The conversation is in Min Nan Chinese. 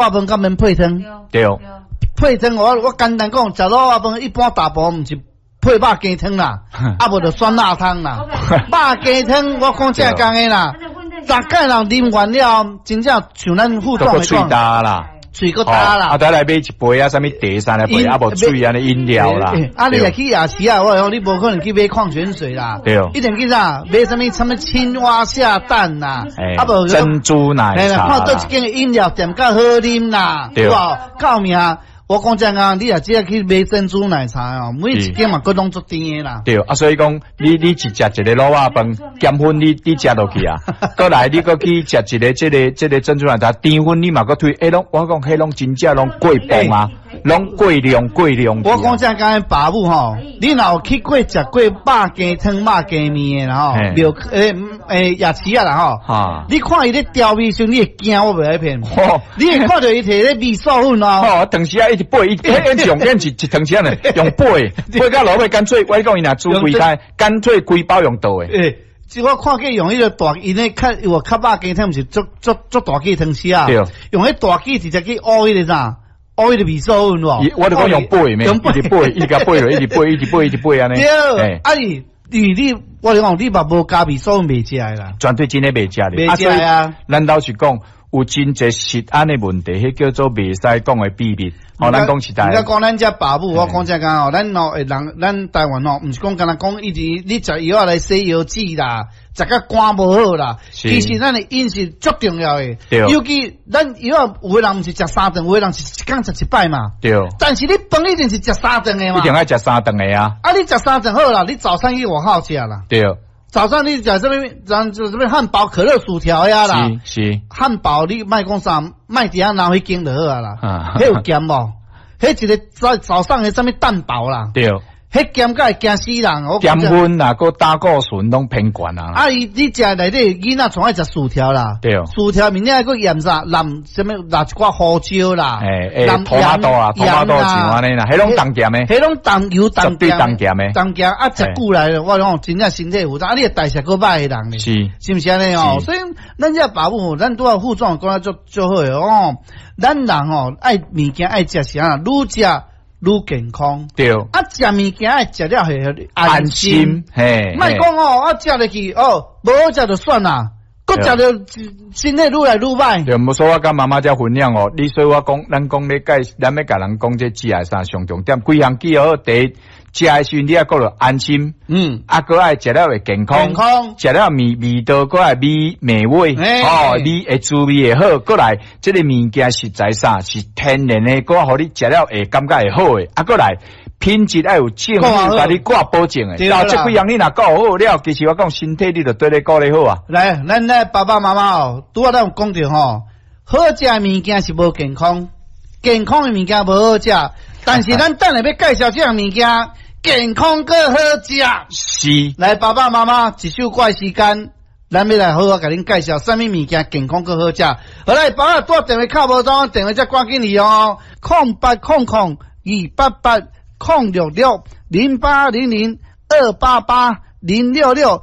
仔飯敢免配湯？對。配湯我簡單講，食滷肉飯一般大部分毋是配肉羹湯啦，啊無就酸辣湯啦。肉羹湯我講正工的啦，逐擺人啉完了，真正像咱副總的講。啦。喙閣焦啦，啊，再來買一杯啊，啥物茶啥來杯，啊無水按呢飲料啦。啊，你若去夜市啊，我講你無可能去買礦泉水啦。一定去啥？買啥物？啥物青蛙下蛋啦，啊無珍珠奶茶。看佗一間飲料店較好啉啦，對無？到命，我講真啊，你若只去買珍珠奶茶哦，每一間嘛，閣攏足甜的啦。對，啊，所以講，你一食一个滷肉飯，減分你食落去啊，閣來你閣去食一个這個珍珠奶茶，甜分你嘛閣推，欸，攏我講彼攏真正攏過磅啊，攏過量過量。我講正講爸母吼，你若有去過食過肉羹湯、肉羹麵的啦吼，廟欸夜市仔啦吼，你看伊咧調味時，你會驚我袂愛騙。你會看著伊提咧味素粉哦。吼，當時啊一直掰，伊彼上邊是一湯匙呢，用掰，掰到落尾乾脆，我講伊若煮規開，乾脆規包用倒的。欸，這我看見用彼個大，伊咧較有較肉羹湯，毋是足足足大支湯匙啊？用彼大支直接去烏彼個啥？烏彼個味素粉無？我就講用掰咩？一直掰，一直共掰落，一直掰，一直掰，一直掰按呢。對，啊伊，因為你，我講你嘛無加味素粉袂食的啦。絕對真的袂食的。袂食啊！咱老實講，有真濟食安的問題，彼叫做袂使講的秘密。哦，咱講實在。你講咱遮爸母，我講這講哦，咱哦會人，咱台灣哦，毋是講干焦講一直你食藥仔來洗腰子啦，食甲肝無好啦。其實咱的飲食足重要的。尤其咱藥仔有的人毋是食三頓，有的人是一工食一擺嘛。但是你飯一定是食三頓的嘛。一定愛食三頓的啊。啊，你食三頓好啦，你早餐去外口食啦。早上你食啥物？咱就啥物漢堡、可樂、薯條呀啦。漢堡你莫講啥，莫佇遐拿彼間就好啊啦。彼有鹹無？彼一个早早上的啥物蛋堡啦。彼鹹甲會驚死人。鹹分啦，閣膽固醇攏偏懸啊。啊，伊你食內底囡仔總愛食薯條啦。薯條面頂還閣鹽啥？淋啥物？淋一寡胡椒啦。欸欸，土馬豆啊，土馬豆醬按呢啦，彼攏重鹹的。彼攏重油重鹹。重鹹的。重鹹啊，食久來了，我講真正身體負擔，啊，你代謝閣歹的人呢？是毋是按呢哦？所以咱這爸母，咱拄仔副總講得足足好的哦。咱人吼愛物件愛食是按怎，愈食愈健康。啊，食物件愛食了會安心。嘿，莫講哦，啊，食落去哦，無好食就算啦，閣食著身體愈來愈歹。對，無說我佮媽媽遮分享哦，你所以我講，咱講咧介，咱欲共人講這食的啥上重點，幾項記好，第一，食的時陣你愛顧著安心，啊，閣愛食了會健康，健康，食了味味道閣愛美美味，哦，味會滋味會好，閣來這个物件實在啥是天然的，閣予你食了會感覺會好的，啊，閣來品質愛有政府共你掛保證的，到這幾項你若顧好了，其實我講身體你就對咧顧咧好啊。來，咱咧爸爸媽媽哦，拄仔咱有講著吼，好食的物件是無健康，健康的物件無好食，但是咱等下欲介紹這項物件，健康閣好食。來，爸爸媽媽，一首歌的時間，咱欲來好好共恁介紹啥物物件健康閣好食。好來，爸爸拄電話敲無通，電話才趕緊去哦，0800288066，0800288066。